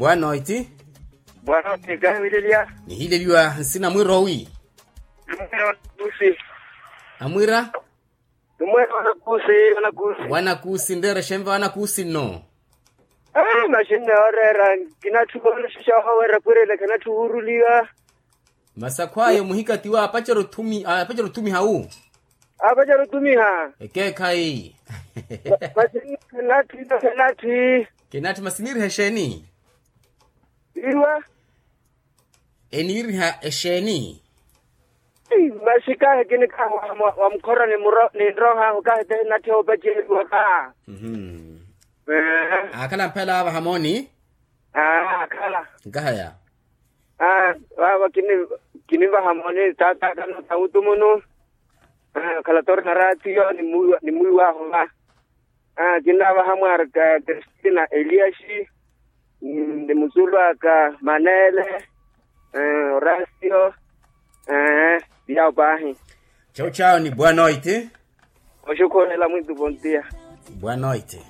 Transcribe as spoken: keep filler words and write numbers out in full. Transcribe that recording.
Boa noite. Boa noite, kahiwileliya. Nihileliwa nsina mwira owi? Mwira wanakusi. Amwira? Mwira wanakusi, wanakusi. Wanakusi nreera xenva wanakusi nno? Maxinne oreera. Kinatthu oonexexa ohawerya kwirele kinatthu wuuruliwa. Masi akhwaya omuhikatiwa apacerya othumiha wu? Apacerya othumiha. Ekeekhayi. Masi kinatthi. Kinatthi masi niiriha exeeni? Iwa. Eniiriha exeeni? Masi kahi kinikhaha wa mukhora ni nrohahu kahi te nattheha opaceriwa kaha. Aakhala mphela avaha mooni. Aakhala. Nkahaya. Vava kinivaha mooni tatakana tawutumunu. Khala torna ratio ni mwiwahu va. Kinnavaha mwarka kristina eliasi, ni musulu aka manele, orasio. Viyawo paahi. Chau chau ni boa noite. Oxukhurela mwintu pontia. Boa noite.